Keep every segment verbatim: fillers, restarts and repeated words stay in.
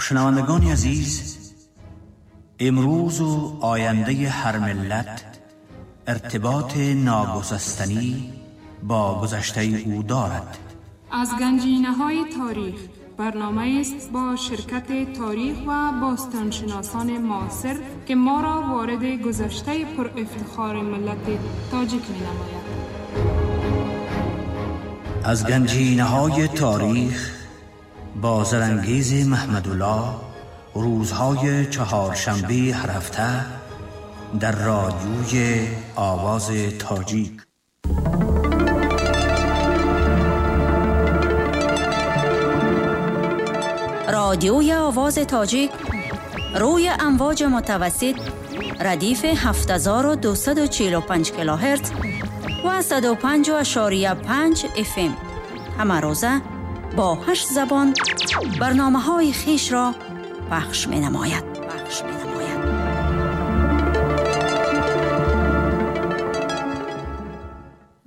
شنوندگان عزیز، امروز و آینده هر ملت ارتباط ناگسستنی با گذشته او دارد. از گنجینه‌های تاریخ برنامه است با شرکت تاریخ و باستانشناسان معاصر که ما را وارد گذشته پر افتخار ملت تاجیک می‌نماید. از گنجینه‌های تاریخ با زرنگیز محمدالله، روزهای چهارشنبه هر هفته در رادیوی آواز تاجیک. رادیوی آواز تاجیک روی امواج متوسط ردیف هفت هزار و دویست و چهل و پنج کیلوهرتز و صد و پنج اعشاریه پنج اف ام همه روزه با هشت زبان برنامه‌های خیش را پخش می‌نماید. پخش می‌نماید.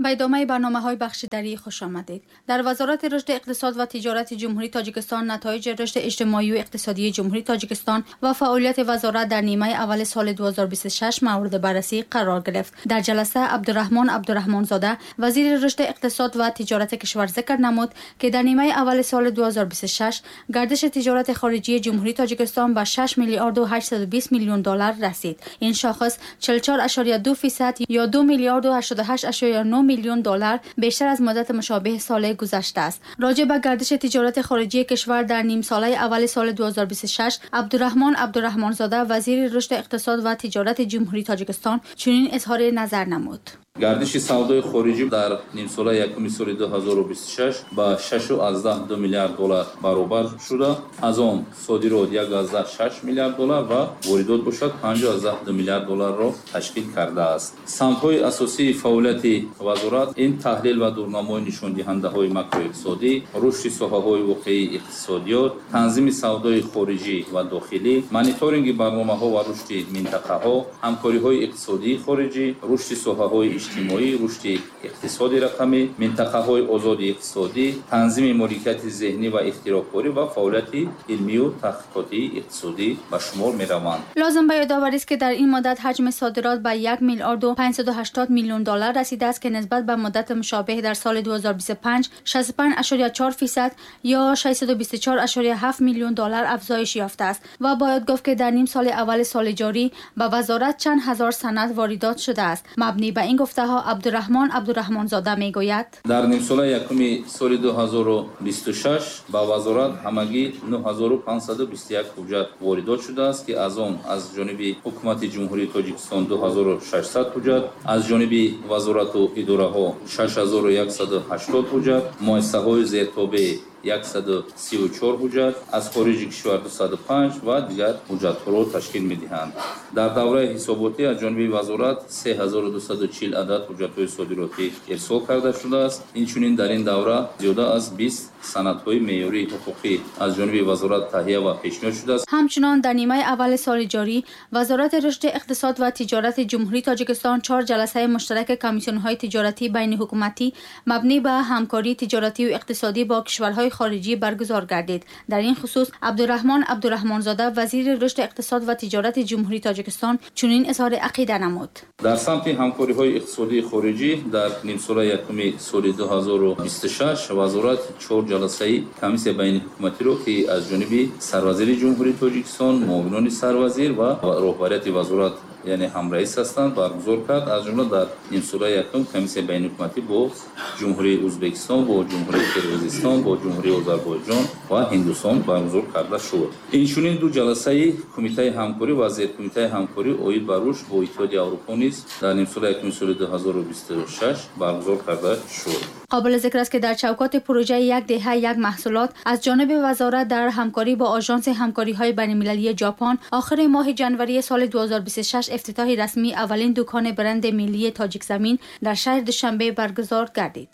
به ادامه برنامه‌های بخش دری خوش آمدید. در وزارت رشد اقتصاد و تجارت جمهوری تاجیکستان نتایج رشد اجتماعی و اقتصادی جمهوری تاجیکستان و فعالیت وزارت در نیمه اول سال دو هزار و بیست و شش مورد بررسی قرار گرفت. در جلسه عبدالرحمن عبدالرحمن زاده وزیر رشد اقتصاد و تجارت کشور ذکر نمود که در نیمه اول سال دو هزار و بیست و شش گردش تجارت خارجی جمهوری تاجیکستان به شش میلیارد و هشتصد و بیست میلیون دلار رسید. این شاخص چهل و چهار اعشاریه دو درصد یا دو میلیارد و هشتاد و هشت اعشاریه نه میلیون دلار بیشتر از مدت مشابه سال گذشته است. راجع به گردش تجارت خارجی کشور در نیم ساله اول سال دو هزار و بیست و شش، عبدالرحمن عبدالرحمن زاده وزیر رشد اقتصاد و تجارت جمهوری تاجیکستان چنین اظهار نظر نمود. گردش سودای خارجی در نیم ساله یکم سال دو هزار و بیست و شش با شش و ده دو میلیارد دلار برابر شده. از آن صادرات یک و شش میلیارد دلار و واردات باشد پنج و ده میلیارد دلار را تشکیل کرده است. سمت‌های اساسی فعالیت وزارت این تحلیل و دورنمای نشان دهنده های ماکرواقتصادی، رشد ساحه‌های واقعی اقتصادیات، تنظیم سودای خارجی و داخلی، مانیتورینگ برنامه‌ها و رشد منطقه‌ها، همکاری‌های اقتصادی خارجی، رشد ساحه‌های اجتماعی، رشد اقتصادی رقمی، منطقه‌های آزاد اقتصادی، تنظیم مالکیت ذهنی و اختراع‌کاری و فعالیت علمی و تحقیقاتی اقتصادی به شمار می‌روند. لازم به یادآوری است که در این مدت حجم صادرات به یک میلیارد و پانصد و هشتاد میلیون دلار رسیده است که نسبت به مدت مشابه در سال دو هزار و بیست و پنج شصت و پنج اعشاریه چهار درصد یا ششصد و بیست و چهار اعشاریه هفت میلیون دلار افزایش یافته است و باید گفت که در نیم سال اول سال جاری به وزارت چند هزار سند واردات شده است. مبنی به این گفته ها عبدالرحمن عبدالرحمن زاده میگوید در نیم سال یکم سال دو هزار و بیست و شش به وزارت همگی نه هزار و پانصد و بیست و یک حجت واردات شده است که از آن از جانب حکومت جمهوری تاجیکستان دو هزار و ششصد حجت، از جانب وزارت و اداره ها شش هزار و یکصد و هشتاد حجت، مؤسسه‌های زیرتابع یکصد و سی و چهار حجت، از خارج کشور دویست و پنج و دیگر حجت را تشکیل می‌دهند. در دوره حساباتی از جانب وزارت سه هزار و دویست و چهل عدد حجت‌های صادراتی ارسال کرده شده است. اینچنین در این دوره زیاده از بیست سندهای معیاری حقوقی از جانب وزارت تهیه و پیشنهاد شده است. همچنان در نیمه اول سال جاری وزارت رشد اقتصاد و تجارت جمهوری تاجیکستان چهار جلسه مشترک کمیسیون‌های تجارتی بین حکومتی مبنی بر همکاری تجارتی و اقتصادی با کشورهای خارجی برگزار گردید. در این خصوص عبدالرحمن عبدالرحمن زاده وزیر رشد اقتصاد و تجارت جمهوری تاجیکستان چنین اظهار عقیده نمود. در سمت همکاری‌های اقتصادی خارجی در نیم سال یکم سال دو هزار و بیست و شش وزارت چهار جلسه کمیسیون بین حکومتی را که از جانب سروزیر جمهوری تاجیکستان، معاونان سروزیر و رهبریت وزارت یعنی همرئیس هستند برگزار کرد. از جمله در نیم سال یکم کمیسیون بین حکومتی با جمهوری ازبکستان، با جمهوری قرقیزستان، با جمهوری آذربایجان و هندوستان برگزار کرده شد. اینچنین دو جلسه کمیته همکاری و زیر کمیته همکاری عاید بر رشد با اتحادیه اروپا نیز در نیم سال یکم سال دو هزار و بیست و شش برگزار کرده شد. قابل ذکر است که در چوکات پروژه یک دهه یک محصولات از جانب وزارت در همکاری با آژانس همکاری‌های بین‌المللی ژاپن آخر ماه ژانویه سال دو هزار و بیست و شش افتتاح رسمی اولین دکان برند ملی تاجیک زمین در شهر دوشنبه برگزار گردید.